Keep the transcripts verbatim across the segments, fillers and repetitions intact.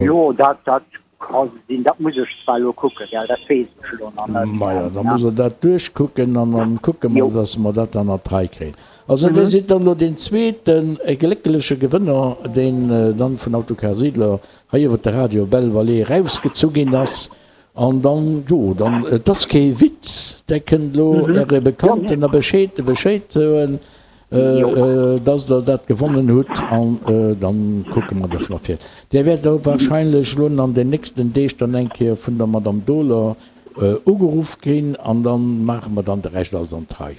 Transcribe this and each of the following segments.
Jo, dat, dat ka sinn. Dat muss ech zwar elo kucken, gell, dat weess ech elo nach net. Majo, da muss Der dat duerchkucken an dann kucke mer, Jo. dass mer dat dann an d'Rei kréien. Also, Dir sidd dann elo deen zweete gléckleche Gewënner, deen dann vun Autocar Siedler hei iwwer de Radio Belle Vallée erausgezu ginn ass. An dann, jo, dann, et ass kee Witz, Der kënnt elo Äre Bekannten a Bescheed, Bescheed soen, dass Der dat gewonnen hutt an dann kucke mer, dass mer fir. Dir wäert och wahrscheinlech elo an den nächsten Deeg dann eng Kéier vun der Madame Dohler ugeruff ginn an dann maache mer dann de Rescht alles an d'Rei.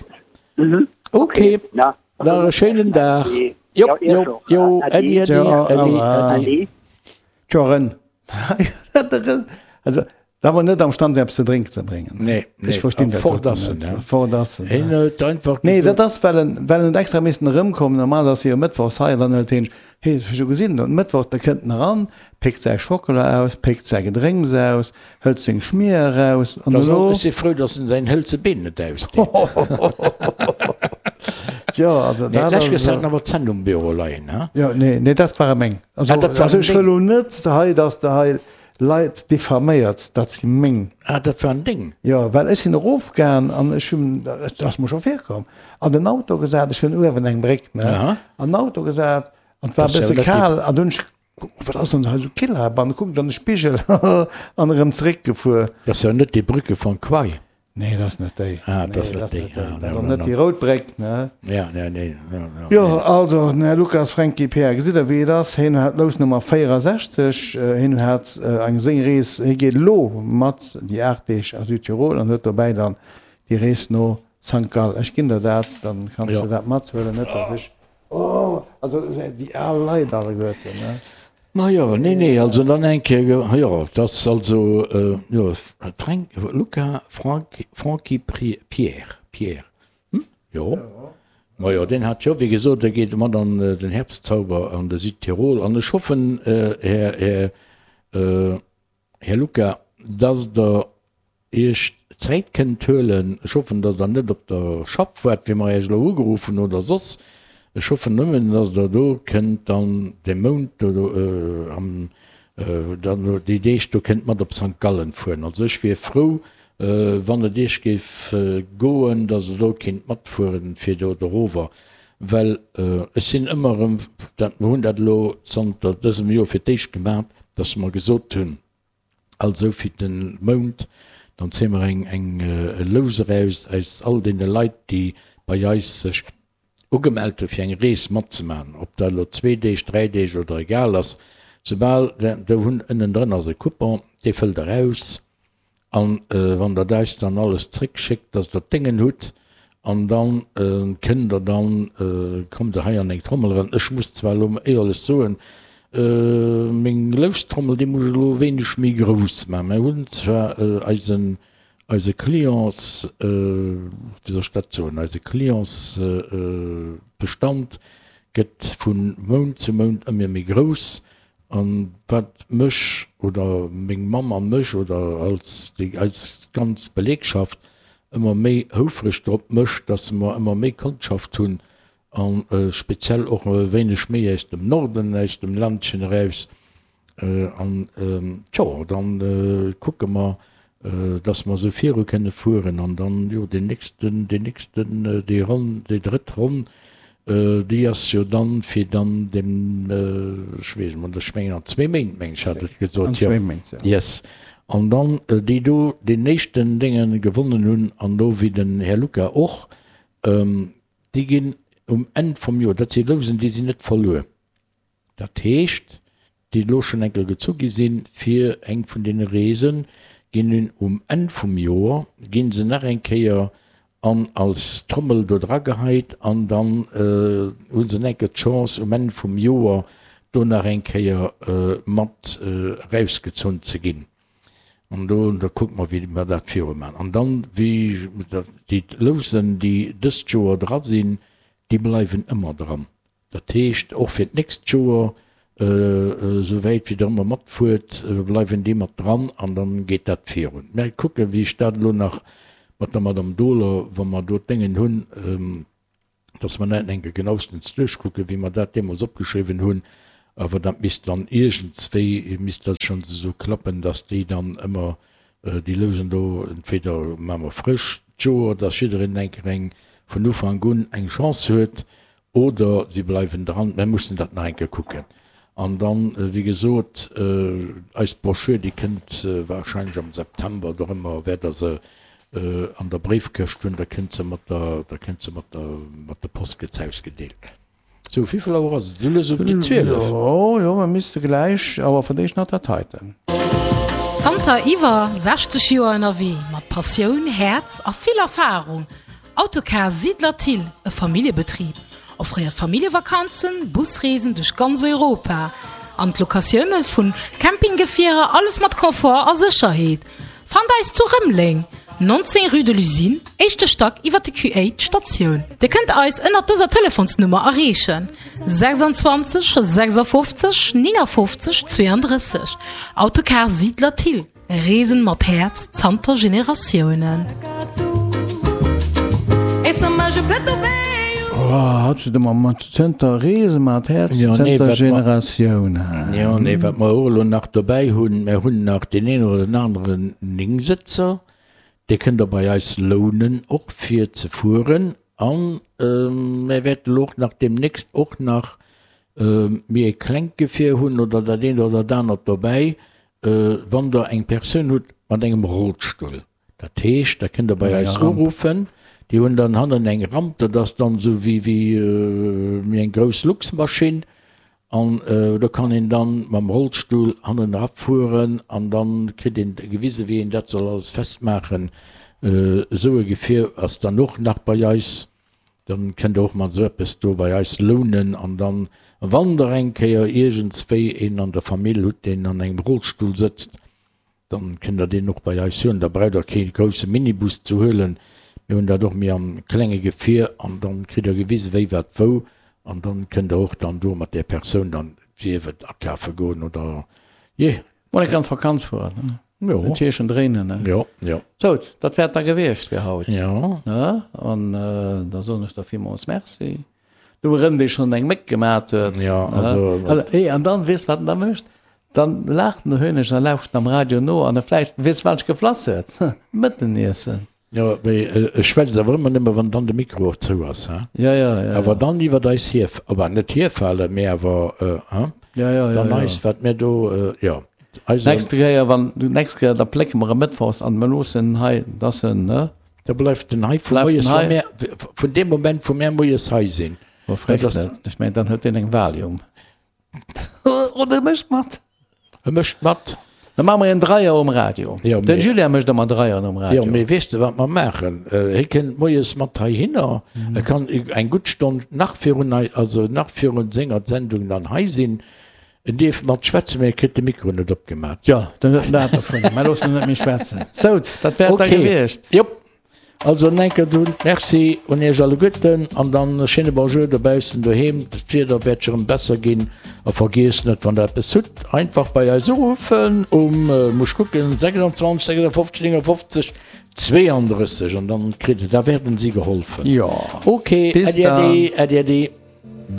Ok, nach e schéinen Dag. Jop, jop, jo, Äddi, äddi, äddi, äddi. Tjo, Ren. Also, da war net am Stand eppes ze drénken ze bréngen. Nee, nee, Ech verstinn dat fort doten ass en, net. ne? Fort ass en, Hien ne? huet einfach Nee, gesot. dat ass well en, well en huet extra missen erëmkommen. Normal ass hie jo mëttwochs hei an dann huet hien, hee, ech hu scho gesinn, dann mëttwochs, da kënnt en eran, péckt säi Schockela aus, péckt säi Gedrénks aus, hëlt seng Schmier eraus an Da soll, elo. ech si frou, datt en säin hëlze Been net ausdeet. Jo, also Nee, dat d'lescht ass Kéier hat en esou. awer d'Zänn um Büro leien, he? Jo, nee, nee, dat ware meng. Also, Ah, dat also waren ech wëll deng. elo net hei, datt de hei Leit diffaméiert, dat si meng. Ah, dat waren deng? Jo, well ech sinn erofgaang an ech hunn, dat ass mer scho virkomm, an den Auto gesat, ech hunn uewen eng Bréck, ne, Aha. an den Auto gesat an et war Dat e ass jo bësse net déi. kal an dunn hunn ech gekuckt, wat ass denn hei esou kill heibannen, kucken ech an de Spigel an erëm zeréckgefuer. Dat ass jo net déi Brücke von Quai. Nee, dat ass net déi. Ah, dat ass Nee, net dat ass déi. net déi. Ah, Dat ass no, och no, net no. déi rout Bréck, ne? Ja, ja, nee, no, no, Jo, nee. also, den Här Lucas Franky Pierre, gesitt Der, wéi et ass? Hien hat Lousnummer véierasechzeg. Hien hat eng seng Rees, hie geet elo mat déi aacht Deeg a Südtirol an huet dobäi dann déi Rees no Sankt Gall. Ech ginn der dat, dann kanns Jo. de dat mathuelen, net dass ech, oh, also déi al Leit alleguerten, ne? Majo, nee, nee, also dann eng Kéier, jo, et ass also, jo, Frank, Luca Frank, Franky Pierre, Pierre, hm, jo, majo, deen hat jo, wéi gesot, dee geet mat an den Herbstzauber an de Südtirol an ech hoffen, Här, Här, Här Luca, dass Der Iech Zäit kënnt huelen. Ech hoffen, datt Der net op der Schaff waart, wéi mer Iech elo ugeruff hunn oder soss. Ech hoffen nëmmen, datt Der do kënnt dann de Mount do am, dann déi Deeg do kënnt mat op Sankt Gallen fueren. Also ech wier frou, wann et Iech géif goen, datt Der do kinnt matfueren, fir do erover, well ech sinn ëmmer erëm, dat, mer hunn dat elo zanter dësem Joer fir d'éischt gemat, datt mer gesot hunn, Also fir den Mount, dann zéie mer eng eng e Lous eraus aus all deene Leit, déi bei eis sech ugemellt hu fir eng Rees matzemaachen, ob dat elo zwee Deeg, dräi Deeg oder egal ass, soubal do hunn ënnendrën ass e Coupon, dee fëllt der aus an wann der eis dann alles zréckschéckt, dass der d'Déngen hutt, An dann kënnt Der dann, kommt Der hei an eng Trommel eran. Ech muss zwar elo éierlech soen, meng Loustrommel, déi muss ech elo e wéineg méi grouss maachen. Mir hunn zwar eisen, eise Clients, wéi soll ech dat soen, eise Clientsbestand gëtt vu Mount zu Mount ëmmer méi grouss. An wat mech oder meng Mamm a mech oder als déi eis ganz Belegschaft ëmmer méi houfreg drop mécht, dass mer ëmmer méi Kondschaft hunn a speziell och e wéineg méi aus dem Norden, aus dem Ländchen eraus. An tjo, dann kucke mer, dass mer esou viru kënne fueren an dann, jo, deen nächsten, deen nächsten, déi Ronn, déi drëtt Ronn, Déi ass jo dann, fir dann dem, ech weess net, ech mengen an zwee Méint, meng ech, hat et gesot. An zwee Méint, jo. Yes. An dann déi do deen éischten Dénge gewonnen hunn, an do wéi den Här Lucca och, déi ginn um Enn vum Joer, dat si Lousen, déi sinn net verluer. Dat heescht, déi elo schonn eng Kéier gezu gi sinn fir eng vun deene Reesen, ginn hunn um Enn vum Joer, gi se nach eng Kéier an als Trommel do dra geheit an dann hu se nach eng Kéier d'Chance um Enn vum Joer do nach eng Kéier mat erausgezunn ze ginn. An do, da kucke mer wéi mer dat viru maachen. An dann, wéi déi Lousen déi dëst Joer dra sinn, déi bleiwen ëmmer dran. Dat heescht, och fir d'nächst Joer, esou wäit wéi Der ëmmer matfuert, bleiwen déi mat dran an da geet dat virun. Mä kucken, wéi ech dat elo nach mat der Madame Dohler, wa mer do d'Déngen hunn, dass mer dat eng Kéier genauestens duerchkucken, wéi mer dat deemools opgeschriwwen hunn, Awer dat misst dann iergendswéi misst dat schonn esou klappen, dass déi dann ëmmer déi Lousen do, entweder maache mer frësch d'Joer, dass jiddereen eng Kéier eng vun Ufank un eng Chance huet, oder si bleiwen dran. Mer mussen dat nach eng Kéier kucken. An dann, wéi gesot, eis Broschür, déi kënnt wahrscheinlech am September oder ëmmer, wäert Der se an der Bréifkëscht hunn, da kënnt se mat der, da kënnt se mat der, mat der Post gëtt se ausgedeelt. Sou, wéivill Auer ass et? Esou lues op déi zwielef. Jo, jo, mer misste gläich, awer fir d'éischt nach dat heiten. Zanter iwwer sechzeg Joer ënnerwee, mat Passioun, Häerz a vill Erfarung, Autocar Siedler Thill, e Familljebetrib, offréiert Familljevakanzen, Busreesen duerch ganz Europa an d'Locatioune vun Campinggefierer, alles mat Confort a Sécherheet. Fannt eis zu Rëmeleng, neunzéng rue de l'Usine, éischte Stack iwwer de Q-Aid Statioun. Dir kënnt eis ënnert dëser Telefonsnummer erreechen, sechsundzwanzeg sechsundfünfzig neunundfünfzig zweiunddrësseg. Autocar Siedler Thill, Reesen mat Häerz zanter Generatiounen. Oh, hat se de mat zënter Reese mat Häerz Ja, nee, zënter wat mer- Generatiounen. Ja, nee, wat mer och elo nach dobäi hunn, mer hunn nach deen een oder den aneren Néngsëtzer, dee kënnt Der bei eis lounen, och fir ze fueren. An mer wäerten elo och nach deemnächst och nach méi e klengt Gefier hunn oder dat eent oder dat anert dobäi, wann Der eng Persoun hutt mat engem Rollstull. Dat heescht, da kënnt Der bei eis uruffen, déi hunn dann hannen eng Ramp, dat ass dann esou wéi wéi eng grouss Luxmaschinn an do kann een dann mam Rollstull hannen erafueren an dann kritt een gewise wéi een dat soll alles festmaachen. Esou e Gefier ass dann och nach bei eis. Dann kënnt Der och mat esou eppes do bei eis lounen an dann, wann Der eng Kéier iergendswéi een an der Famill hutt, deen an engem Rollstull sëtzt, dann kënnt Der deen och bei eis huelen. Da braucht Der kee grousse Minibus ze huelen. Mir hunn dat och méi am klenge Gefier an dann kritt Der gewise wéi wat wou an dann kënnt Der och dann do mat där Persoun dann, sief et akafe goen oder jee. Mol eng Kéier an d'Vakanz fueren, ne? Jo. En Tierchen dréinen, ne? Jo, jo. Sou, dat wär et da gewiescht fir haut. Jo. Ne? An da soen ech der villmools Merci. Do erëm, dee schonn eng Méck gemat huet. Jo, also. Also, hee, an dann, weess wat en da mécht? Dann laacht den Hönesch a lauscht am Radio no an e vläicht, weess wat ech geflass huet? Mëtteniessen. Jo, mee e schwätzt awer ëmmer nëmme wann dann de Mikro och zou ass, hein? Jo, jo, jo. Awer dann iwwert eis hir, enfin net hierfalen, mee awer, hein? Jo, jo, jo, Dann jo. eis, wat mir do, jo, eis. Nächste Kéier, wann, nächst Kéier, da plécke mer e Mëttwochs an mer loossen en hei, dass en, ne? Da bleift en hei vu Bleift moies, en wa hei. mär, vun deem Moment, wou mär moies hei sinn. Wo frécks Dat ass- net. Ech mengen, dann huet deen eng Valium. Oder e mécht mat. E mécht mat. Da maache mer en Dreier um Radio. Jo, Den mee- Julien mécht ëmmer Dreieren um Radio. Jo, mee weess de, wat mer maachen? Hie kënnt moies mat heihinner. E kann eng gutt Stonn nach virun hei, also nach virun senger Sendung dann hei sinn. En dierf mat schwätzen, mee e kritt de Mikro net opgemat. Jo, dann huet en dat dovun. Mer loossen en net méi schwätzen. Sou, dat wär et da Okay. gewiescht. Jop. Also en enker dunn Merci un iech alleguerten an dann e schéine Bonjour dobaussen doheem. D'Wieder wäert scho rëm besser ginn a vergiesst net wann der eppes hutt einfach bei eis uruffen um, muss kucken, sechsundzwanzeg sechsundfünfzig neunundfünfzig zweiunddrësseg an dann kritt der, da werden sie geholfen. Jo. Ok, Bis Äddi dann. äddi, äddi äddi.